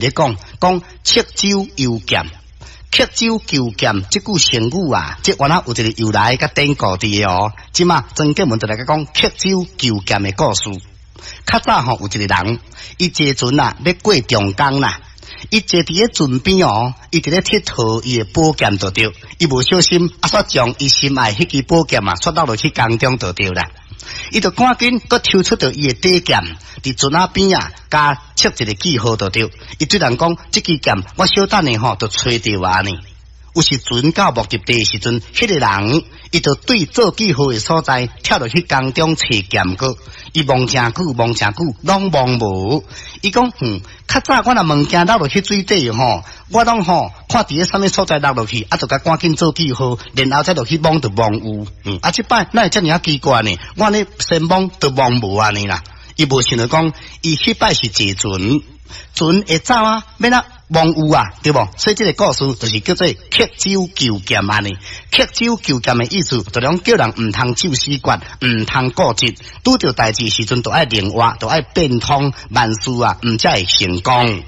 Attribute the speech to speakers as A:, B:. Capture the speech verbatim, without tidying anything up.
A: 咧講講刻舟求劍，刻舟求劍這句成語啊，這原來有一個由來佮典故佇的哦。這馬曾建文就來講刻舟求劍的故事。較早吼有一個人，伊坐船啊，欲過長江啦。伊坐佇咧船邊哦，伊佇咧𨑨迌伊的寶劍就對，伊無小心啊，煞將伊心愛彼支寶劍啊，煞落落去江中就對啦。伊就趕緊閣抽出著伊的底劍，佇船仔邊啊，共設一個記號就對。伊對人講，這支劍我小等下吼就揣著按呢。有時船到目的地的時陣，彼個人伊就對做記號的所在跳落去江中揣劍閣。伊摸誠久，摸誠久，攏摸無。伊講，嗯，較早我若物件落落去水底吼，我攏吼看佇咧啥物所在落落去，啊，就共趕緊做記號，然後再落去摸就摸有。嗯，啊，這擺哪會遮爾仔奇怪呢？我按呢先摸就摸無按呢啦。伊無想著講，伊彼擺是坐船，船會走啊，欲按怎摸有啊，對無？所以這個故事就是叫做刻舟求劍按呢。刻舟求劍的意思，就講叫人毋通就死決，毋通固執，拄著代誌時陣，就愛靈活，就愛變通，萬事啊，毋才會成功。